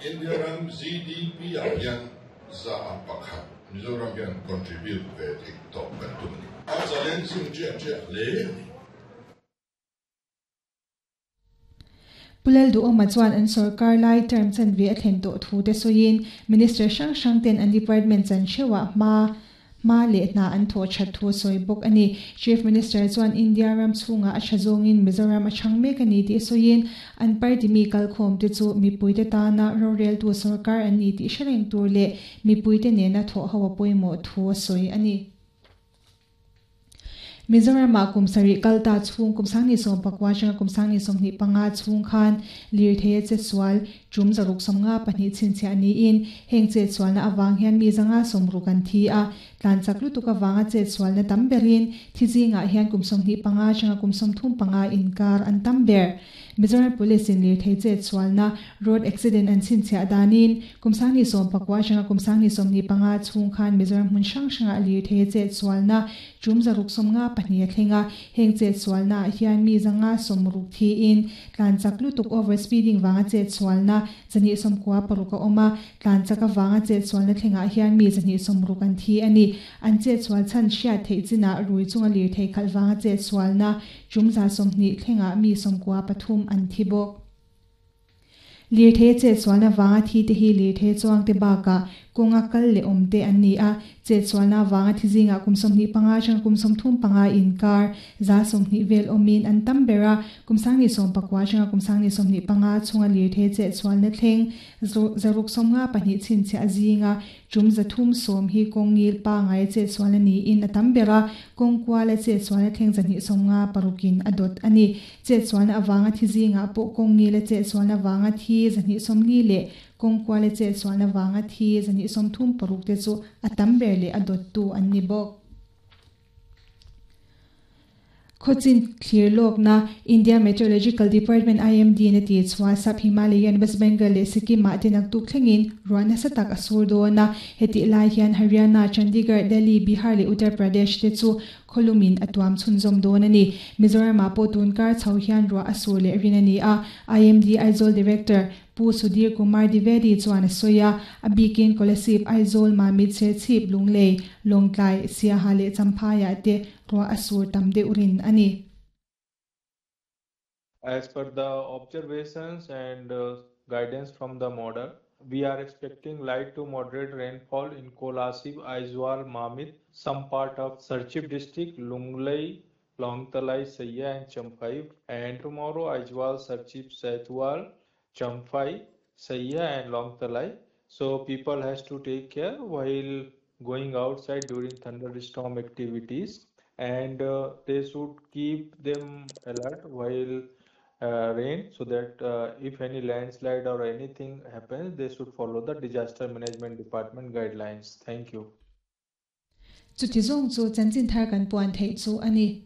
India ram GDP ah hian 1% Mizoram hian contribute ve theih tawh kan tum a ni. A challenging chiah chiah hle a ni. Pu Lalduhawma chuan an sorkar lai term chanve a thlen tawh thu te sawiin Minister hrang hrang ten an department chan theuhah hma hma leh hna an thawh that thu a sawi bawk a ni. Chief Minister chuan India ram chhungah a tha zawngin Mizoram a chhang mek a ni tih sawiin an party mi kalkhawm te chu mipuite tana roreltu sorkar an ni tih hre reng tur leh mipuite nena thawh ho a pawimawh thu a sawi a ni. Mizoramah kum sarih kal ta chhung kum sangni 19 atanga kum sangni 25 chhung khan lirthei a chetsual tum 652 chhinchhiah niin heng chetsualna avang hian mi 160 an thi a, tlan chak lutuk avanga chetsualna tam berin thi zingah hian kum 25 atanga kum 35 inkar an tam ber. Mizoram Police in lirthei chetsualna road accident an chhinchhiah danin kum 19 atanga kum 25 chhung khan Mizoram hmun hrang hrangah lirthei chetsualna tum 652 a thlenga heng chetsualna hian mi 160 thi in tlan chak lutuk over speeding wanga chetsualna 296 a awma tlan chak awanga chetsualna thlenga hian mi 160 an thi ani an chetsual chan hriat theih china rui chunga lirthei khalh wanga chetsualna tum 120 thlenga mi 93 an thi bawk. Lirthei chetsualna wanga thi te hi lirthei chuang te baka kawnga kal leh awm te an ni a chetsualna wanga thi zinga kum 25 atanga kum 35 inkar 120 vel awmin an tam bera kum 19 atanga kum 25 chhunga lirthei chetsualna thleng 652 chhinchhiah zinga tum 310 hi kawngil pa ngai chetsualna niin a tam bera kawng kuala chetsualna thleng 256 in a dawt ani chetsualna awanga thi zinga pawh kawngil chetsualna wanga thi 240 leh kawng kuala chetsualna wanga thi 236 te chu a tam ber leh a dawt tu an ni bawk. Khawchin thlir lawkna India Meteorological Department IMD na ti chhuah Sap Himalayan West Bengal leh Sikkim ah te naktuk thlengin ruah nasa tak a sur dawn a heti lai hian Haryana, Chandigarh, Delhi, Bihar leh Uttar Pradesh te chu khawlumin a tuam chhunzawm dawn a ni. Mizoram ah pawh tun kar chho hian ruah a sur leh rin a ni a. IMD Aizawl Director Pu Sudhir Kumar Dwivedi chuan a sawi a, a bikin Kolasib Aizawl Mamit Serchhip Lunglei Lawngtlai Siaha leh Champhaiah te ruah a sur tam deuh rin a ni. As per the observations and guidance from the model, we are expecting light to moderate rainfall in Kolasib, Aizawl, Mamit, some part of Serchhip district, Lunglei, Lawngtlai, Siaha and Champhai, and tomorrow Aizawl, Serchhip, Saitual, Champhai, Siaha and Lawngtlai. So people has to take care while going outside during thunderstorm activities, and they should keep them alert while rain, so that if any landslide or anything happens, they should follow the disaster management department guidelines. Thank you. Chuti zawng chu chanchin thar kan puan theih chu a ni.